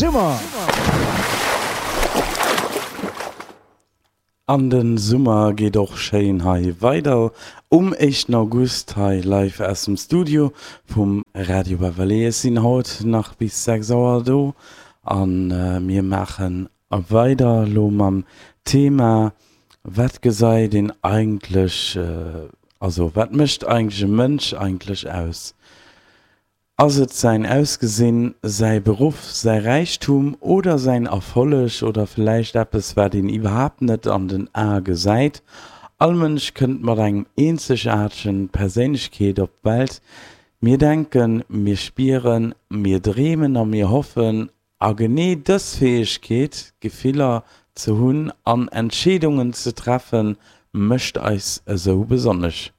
Summer! An de Summer geet och schéin hei weider um éischten August hei live aus dem Studio vum Radio Beverley. Ech sinn haut nach bis 6 Auer do a mir maache weider elo mam Thema Wat gesäit een eigentlech, also wat mécht eigentlech e Mënsch eigentlech aus? Ass et säin Ausgesinn, säi Beruff, säi Räichtum oder säin Erfolleg oder villäicht eppes, wat een iwwerhaapt net an den Ae gesäit? All Mënsch kënnt mat engem eenzegaartegen Perséinlechkeet op d'Welt. Mir denken, mir spieren, mir dreemen a mir hoffen. A genee dës Fäegkeet, Gefiller ze hunn an Entscheedungen ze treffen, mécht eis esou besonnesch.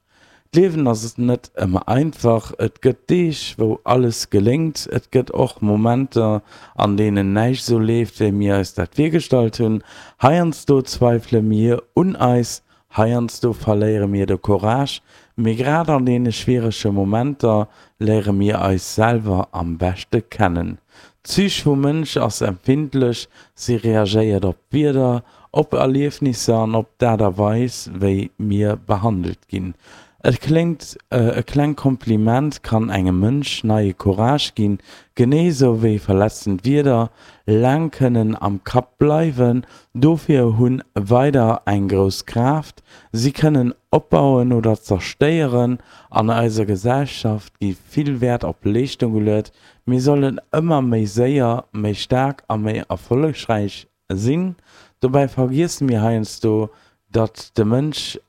D'Liewen ass net ëmmer einfach, et gëtt Deeg, wou alles geléngt, et gëtt och Momenter, an deenen näischt esou leeft, wéi mir eis dat virgestallt hunn. Heiansdo zweifele mir un eis, heiansdo verléiere mir de Courage, mee grad an deene schwierege Momenter léiere mir eis selwer am beschte kennen. D'Psych vum Mënsch ass empfindlech, si reagéiert op d'Wieder, op Erliefnisser an op d'Aart a Weis, wéi mir behandelt ginn. Et kléngt, e klengt Kompliment kann engem Mënsch neie Courage ginn, genee sou wéi verletzend Wierder laang kënnen am Kapp bleiwen. Dofir hunn Weider eng grouss Kraaft, si kënnen opbauen oder zerstéieren. An eiser Gesellschaft gi vill Wäert op Leeschtung geluet, Mir sollen ëmmer méi séier, méi staark a méi erfollegräich sinn. Dobäi vergiesse mir heiansdo, datt de Mënsch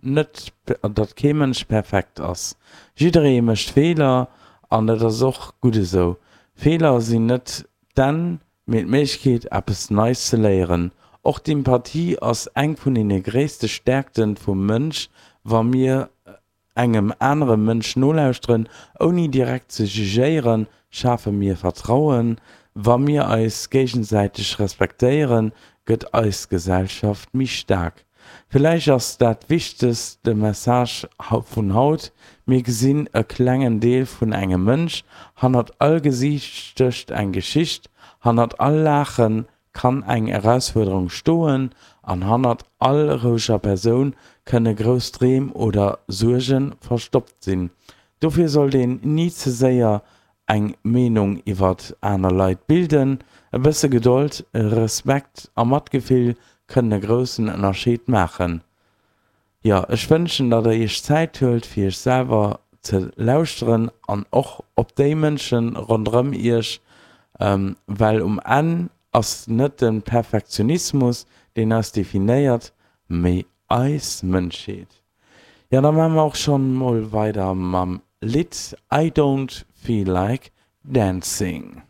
net, datt kee Mënsch perfekt ass. Jidderee mécht Feeler an dat ass och gutt esou. Feeler sinn net d'Enn, mee d'Méiglechkeet, eppes Neis ze léieren. Och d'Empathie ass eng vun deene gréisste Stäerkte vum Mënsch. Wa mir Engem anere Mënsch nolauschteren, ouni direkt ze jugéieren, schafe mir Vertrauen. Wa mir eis géigesäiteg respektéieren, gëtt eis Gesellschaft méi staark. Villäicht ass dat wichtegst de Message vun haut, Mir gesinn e klengen Deel vun engem Mënsch. Hannert all Gesiicht stécht eng Geschicht, hannert all Laachen kann eng Erausfuerderung stoen an hannert all roueger Persoun kënne grouss Dreem oder Suerge verstoppt sinn. Dofir sollt een ni ze séier eng Meenung iwwert aner Leit bilden. E bësse Gedold, Respekt a Matgefill kënnen e groussen Ënnerscheed maachen. Jo, ech wënschen, datt der iech Zäit huelt, fir iech selwer ze lauschteren an och op déi Mënsche ronderëm iech, well um Enn ass net de Perfektionismus, deen eis definéiert, mee eis Mënschheet. Jo, da maache mer och schonn mol weider mam Lidd I Don't Feel Like Dancing.